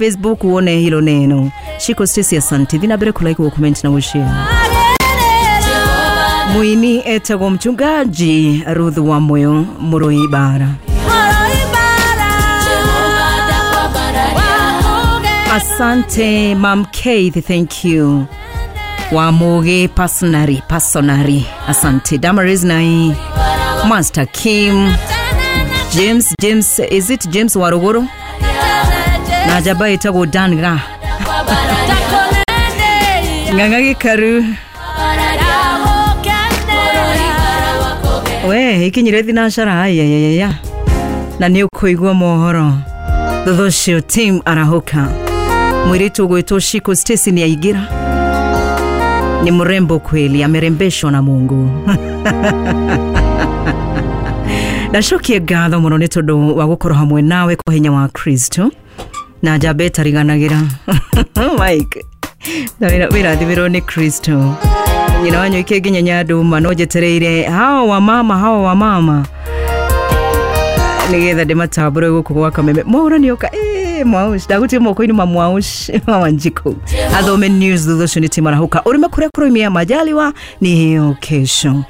Facebook uone hilo neno. Shiko Stacy, asante. Thina mbere kulike, comment na ushare. Muini etagwo mchungaji Ruth wa Moyo Murui Bara. Asante Mam Keith, thank you. Wamuge personary, personary. Asante Damaris nai Master Kim James, James, is it James Waruguru? Na jaba etagwo Dan Ga. Ng'ang'a Gĩkaru. We ikinyire thinacara ayayaya na nĩ ũkũigua mohoro thutha ũcio. Team arahũka mwĩrĩtu ũgwĩtwo Shiko Stacy nĩ aingĩra, ni mrembo kweli, amerembeshwa na Mungu. Ndacokie ngatho mũno nĩ tondũ wa gũkorwo hamwe nawe kwa hinya wa Kristo na njamba ĩtariganagĩra Mike wĩrathimĩrwo nĩ Kristo. Nyina wanyu ike nginya Nyanduma no njetereire hawa wa mama, hawa wa mama nigetha ndĩmatambũre gũkũ gwa Kameme. Mwaũra nĩoka mwaush ndagutie moko-inĩ ma mwaush wa Wanjikũ athome news, thutha ũcio nĩ timarahũka ũrĩme kũrĩa kũroimia majaliwa ni hiyo kesho.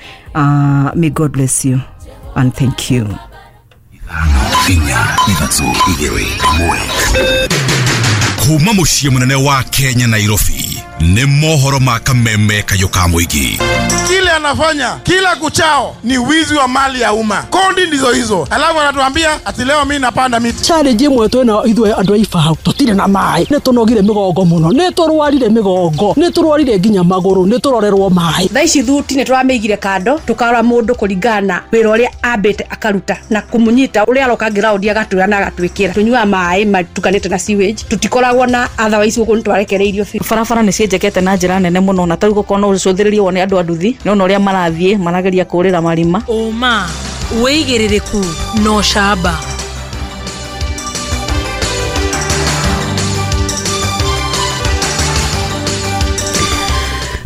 May God bless you and thank you. 5, 3, 2, 1. Kuma mũciĩ mũnene wa Kenya, Nairobi, nĩ mohoro ma Kameme kayũ ka mũingĩ. Kile anafanya kila kuchao ni wizi wa mali ya umma. Kodi ndizo hizo, alafu anatuambia ati leo mimi napanda miti. Challenge ĩmwe twĩna ithuĩ andũ a Ibao, tũtirĩ na maĩ, nĩ tũnogire mĩgongo mũno, nĩ tũrwarire mĩgongo, nĩ tũrwarire nginya magũrũ, nĩ tũrorerwo maĩ. Thaa ici thuti nĩ tũramĩigire kando, tũkarora mũndũ kũringana na wĩra ũrĩa ambĩte akaruta na kũmũnyita ũrĩa aroka ngiraũndi agatwĩra na agatwĩkĩra. Tũnyuaga maĩ matukanĩte na sewage, tũtikoragwo na otherwise gũkũ nĩ twarekereirio biũ. Barabara nĩ cienjekete na njĩra nene mũno, na tarĩu gũkorwo no ũcũthĩrĩrie wone andũ a nduthi nĩ ona ũrĩa marathiĩ marageria kũrĩra marima. Ũma, wĩigĩrĩrĩku na ũcamba.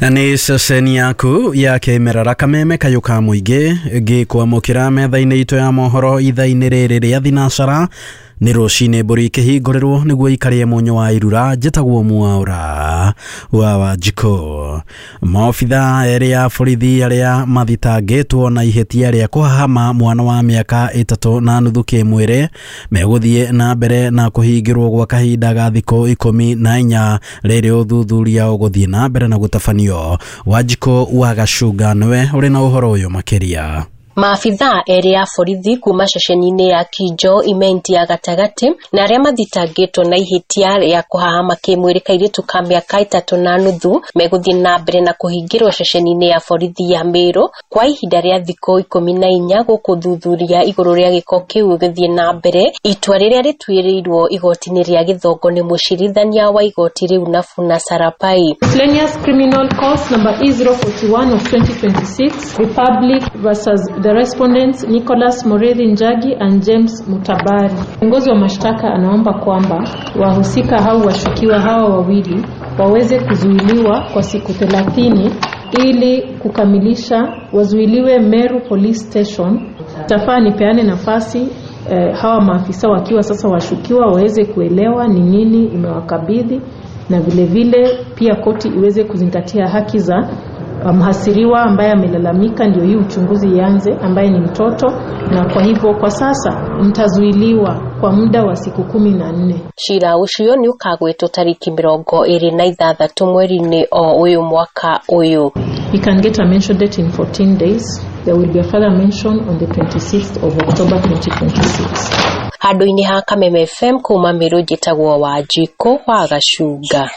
Nĩ ceceni yaku ya kĩmerera Kameme kayũ ka mũingĩ ngĩkwamũkĩra metha-inĩ itũ ya mohoro ithaa-inĩ rĩrĩ rĩa thinacara. Nĩ rũcinĩ mbũri ikĩhingũrĩrwo nĩguo ikarĩe mũnyũ wa irura. Njĩtagwo Mwaũra wa Wanjikũ. Maobitha erĩ a borithi arĩa mathitangĩtwo na ihĩtia rĩa kũhahama mwana wa mĩaka 3.5 kĩmwĩrĩ megũthiĩ na mbere na kũhingĩrwo gwa kahinda ga thikũ 14 rĩrĩ ũthuthuria ũgũthiĩ na mbere na gũtabanio. Wanjikũ wa Gacunga nĩwe ũrĩ na ũhoro ũyũ makĩria. Maabithaa erĩ a borithi kuma ceceni-inĩ ya Kinjo Imenti ya gatagatĩ na arĩa mathitangĩtwo na ihĩtia rĩa kũhahama kĩmwĩrĩ kairĩtu ka mĩaka 3.5 megũthiĩ na mbere na kũhingĩrwo ceceni-inĩ ya borithi ya Meru kwa ihinda rĩa thikũ 14 gũkũ thuthuria igũrũ rĩa gĩko kĩu gĩthiĩ na mbere. Itua rĩrĩa rĩtuĩrĩirwo igoti-inĩ rĩa Gĩthongo nĩ mũcirithania wa igoti rĩu Nafuna Sarapai. Miscellaneous Criminal Cause number E041 of 2026, Republic versus the respondents Nicholas Murithi Njagi and James Mutabari. Kiongozi wa mashtaka anaomba kwamba wahusika hao washukiwa hawa wawili waweze kuzuiliwa kwa siku 30 ili kukamilisha, wazuiliwe Meru Police Station. Tafaa nipeane nafasi hawa maafisa wakiwa sasa washukiwa waweze kuelewa ni nini imewakabidhi, na vile vile pia koti iweze kuzingatia haki za mhasiriwa ambaye amelalamika, ndio hii uchunguzi ianze, ambaye ni mtoto, na kwa hivyo kwa sasa mtazuiliwa kwa muda wa siku 14. Cira ũcio nĩ ũkagwetwo tarĩki 26 mweri-inĩ o ũyũ mwaka ũyũ. He can get a mention date in 14 days. There will be a further mention on the 26th of October 2026. Handũ-inĩ ha Kameme FM kuma Meru, njĩtagwo Wanjikũ wa Gacunga.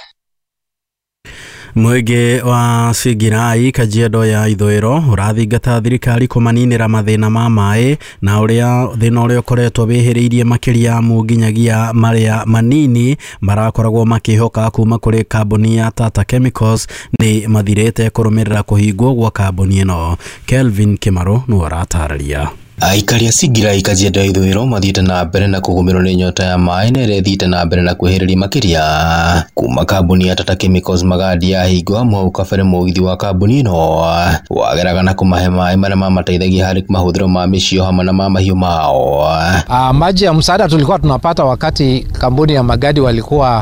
Mũingĩ wa Singirai Kajiado ya ithũĩro ũrathingata thirikari kũmaninĩra mathĩna ma maĩ na ũrĩa thĩna ũrĩa ũkoretwo wĩhĩrĩirie makĩria mu nginyagia marĩa manini marakoragwo makĩhoka kuma kũrĩ kambuni ya Tata Chemicals nĩ mathirĩte kũrũmĩrĩra kũhingwo gwa kambuni ĩno. Kelvin Kĩmarũ nĩwe ũratarĩria. Aikari a Singirai Kajiado ya ithũĩro mathiĩte na mbere na kũgũmĩrwo nĩ nyota ya maĩ na ĩrĩa ĩthiĩte na mbere na kwĩhĩrĩria makĩria kuma kambuni ya Tata Chemicals Magadi yahingwo amu hau kabere mũgithi wa kambuni ĩno wageraga na kũmahe maĩ marĩa mamateithagia harĩ mahũthĩro ma mĩciĩ hamwe na ma mahiũ mao. Maji ya msaada tulikuwa tunapata wakati kampuni ya Magadi walikuwa